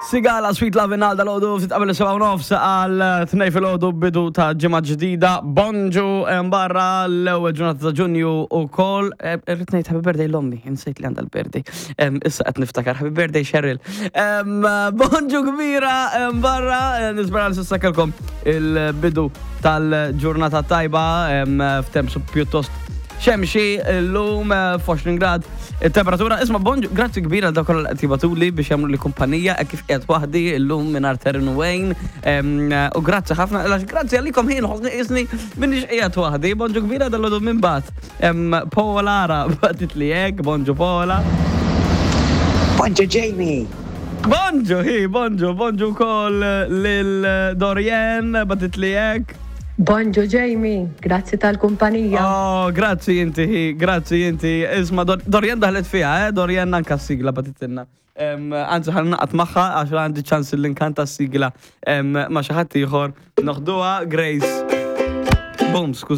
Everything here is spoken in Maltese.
Sigala Sweet Love in dal-ħodu ftit qabel 7:30 għal 2 filgħodu, bidu ta' ġimgħa ġdida. Bonġu barra, l-ewwel ġurnata ta' Ġunju ukoll. Irrid ngħid happy birthday l-ommi, insejt li għandha l-birthday. Issa qed niftakar, happy birthday, Cheryl. Bonġu kbira barra, nispera li s'issa kellkom il-bidu tal-ġurnata tajba f'temp pjuttost xemxi l-lum, f'20 grad il-temperatura. Isma', bonġu, grazzi kbira għal dawk qed jibagħtuli biex jagħmlu li kumpanija hekk kif qiegħed waħdi llum mingħajr Terren Wayne. U grazzi ħafna, għax grazzi għalikom ħin ħossni qisni minix qiegħed waħdi. Bonġu kbira dal minn bat. Paola ara bagħtit li hekk, bonġu Paola. Bonġu, Jamie! Bonġu, hi, bonġu, bonġu wkoll lil Dorien, bagħtit li hekk. Bonġu Jamie, grazzi tal-kumpanija. Oh, grazzi inti, hi, grazzi inti. Isma', Dorien daħlet fiha, eh? Dorien anka s-sigla bagħtitilna. Anzi, ħa naqgħod magħha għax għandi ċans li nkanta s-sigla ma' xi ħadd ieħor. Noħduha, Grace. Boom, skuż.